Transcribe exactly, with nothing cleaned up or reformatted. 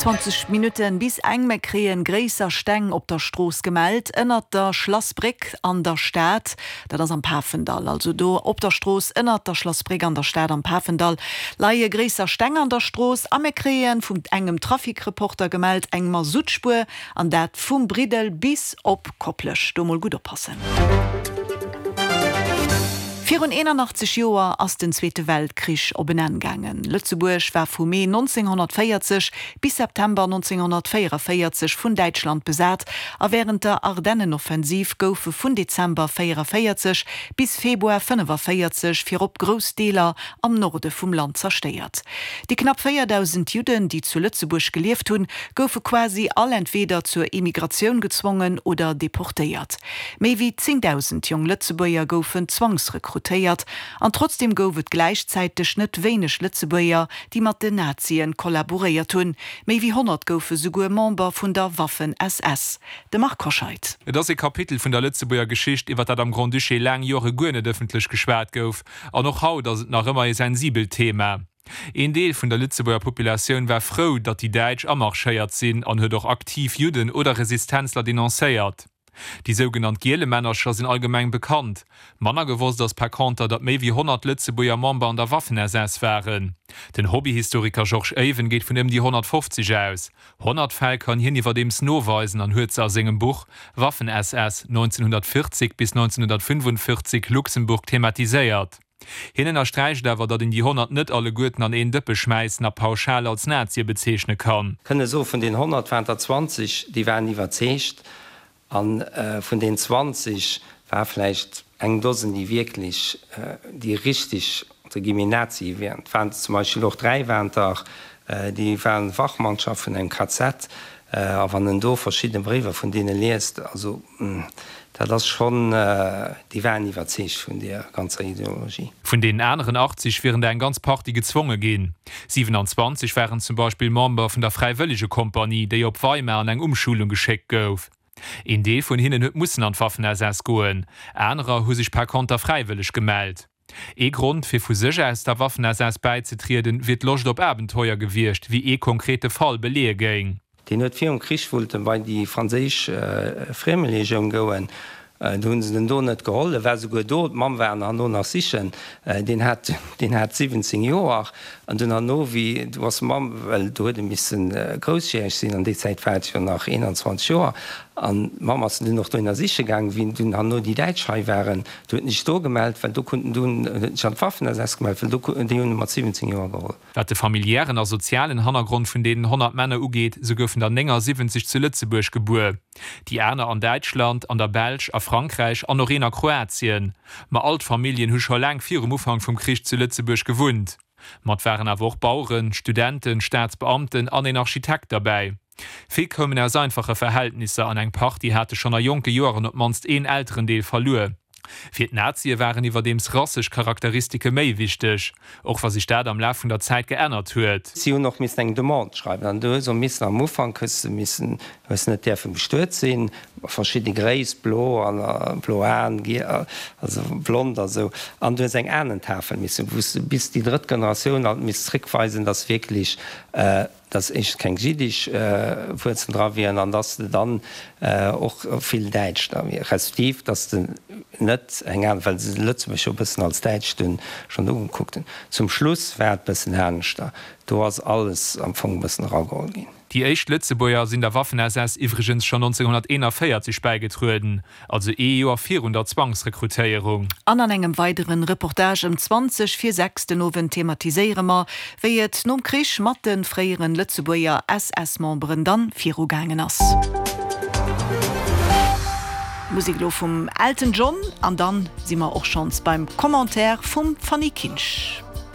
Zwanzeg Minutten bis eng. Mir kréien gréisser Steng op der Strooss gemellt, ënnert der Schlassbréck an der Stad. Dat ass am Pafendall. Also do op der Strooss ënnert der Schlassbréck an der Stad am Pafendall leie gréisser Steng an der Strooss. A mir kréien vun engem Trafikreporter gemellt eng Masuttspuer, an dat vum Briddel bis op Koplescht. Do mol gutt oppassen. Virun eenanachtzeg Joer ass den Zweete Weltkrich op en Enn gaangen. Lëtzebuerg war vu Mee nonzénghonnertvéierzeg bis September nonzénghonnertvéierevéierzeg vun Däitschland besat a wärend der Ardennenoffensiv goufe vun Dezember véierevéierzeg bis Februar fënnefavéierzeg virop grouss Deeler am Norde vum Land zerstéiert. Déi knapp véierdausend Judden, déi zu Lëtzebuerg gelieft hunn, goufe quasi all entweeder zur Emigratioun gezwongen oder deportéiert. Méi wéi zéngdausend jong Lëtzebuerger goufen zwangsrekrutéiert an trotzdeem gouf et gläichzäiteg net wéineg Lëtzebuerger, déi mat den Nazien kollaboréiert hunn. Méi wéi honnert goufe souguer Member vun der Waffen-S S. De Marc Hoscheid. Et ass ee Kapitel vun der Lëtzebuerger Geschicht, iwwer dat am Grand-Duché laang Jore guer net ëffentlech geschwat gouf. An och haut ass et nach ëmmer ee sensibelt Thema. Een Deel vun der Lëtzebuerger Populatioun war frou, datt déi Däitsch amarschéiert sinn an huet och aktiv Judden oder Resistenzler denoncéiert. Déi sougenannt Gielemännercher sinn allgemeng bekannt. Manner gewosst ass par conter, datt méi wéi honnert Lëtzebuerger Member an der Waffen-S S waren. Den Hobbyhistoriker Georges Even geet vun ëm déi honnertfofzeg aus. Honnert Fäll kann hien iwwerdeems noweisen an huet se a sengem Buch Waffen-S S, neunzehnhundertvierzig bis neunzehnhundertfünfundvierzig Luxemburg thematiséiert. Hien ënnersträicht awer, datt een déi honnert net alleguerten an een Dëppe schmäissen a pauschal als Nazie bezeechne kann. Kënne soen, vun den honnert waren der zwanzeg, déi waren iwwerzeegt, a vun den zwanzeg war vläicht eng Dosen, déi wierklech, déi richtig, entre guillemets, Nazie wieren. Et waren zum Beispill och dräi waren der, déi waren Wachmannschaft vun engem K Z. A wann en do verschidde Bréiwer vun deene liest, also dat ass schonn, déi waren iwwerzeegt vun deer ganzer Ideologie. Vun deenen aneren achtzeg wieren der eng ganz Partie gezwonge ginn. siewenanzwanzeg waren zum Beispill Member vun der Fräiwëllegekompanie, déi op Weimar an eng Umschulung geschéckt gouf. Een Deel vun hinnen huet mussen an d'Waffen-S S goen, anerer hu sech par conter fräiwëlleg gemellt. Ee Grond, fir vu sech aus der Waffen-S S bäizetrieden, wier d'Loscht op Abenteuer gewiescht, wéi ee konkrete Fall beleeë géing. Deen huet virum Krich wollt en bei déi franséisch Friemelegioun goen. Do hunn se den do net geholl. E war souguer do, d'Mamm war en herno nach sichen. Deen hat, deen hat siwwenzéng Joer. An dunn herno, wéi, do ass d'Mamm, well do huet e misse groussjäreg sinn, an déi Zäit war et jo nach eenanzwanzeg Joer, an d'Mamm ass en dunn och dohinner siche gaangen. Wéi dunn herno déi Däitsch hei waren, do huet en sech do gemellt, well do konnt en dunn, huet en sech an d'Waffen-S S gemellt, well do, déi hunn e mat siwwenzéng Joer geholl. Wat de familiären a sozialen Hannergrond vun deenen honnert Männer ugeet, sou goufen der néngasiwwenzeg zu Lëtzebuerg gebuer, déi aner an Däitschland, an der Belsch, a Frankräich an och een a Kroatien. Ma all d'Familljen hu scho laang virum Ufank vum Krich zu Lëtzebuerg gewunnt. Mat waren awer och Baueren, Studenten, Staatsbeamten an een Architekt derbäi. Vill koumen aus einfache Verhältnisser an eng Partie hate schonn a jonke Joren op d'mannst een Elterendeel verluer. Fir d'Nazie waren iwwerdeems rassesch Charakteristike méi wichteg, och wa sech dat am Laf vun der Zäit geännert huet. Si hunn och missen eng Demande schreiwen an du hues och missen am Ufank hues de missen, hues net däerfe bestuet sinn, verschidde Gréisst, blo an blo Aen, also blond a sou, an du hues eng Ahnentafel missen, wou s de bis déi drëtt Generatioun alt misst zréckweisen, dass wierklech dass éischtens keng jiddisch Wuerzelen dra wieren an dass de dann och vill Däitsch da wier, respektiv dass de net eng aner, well se Lëtzebuerg jo e bëssen als Däitsch dunn schonn ugekuckt hunn. Zum Schluss war et bëssen aneschter, do ass alles am Fong e bëssen erageholl ginn. Déi éischt Lëtzebuerger sinn der Waffen-S S iwwregens schonn nonzénghonnerteenavéierzeg bäigetrueden, also ee Joer virun der Zwangsrekrutéierung. An an engem weideren Reportage ëm zwanzeg vir sechs den Owend thematiséiere mer, wéi et nom Krich mat de fréieren Lëtzebuerger S S-Memberen dann virugaangen ass. Musek elo vum Elton John an dann si mer och schonns beim Commentaire vum Fanny Kinsch.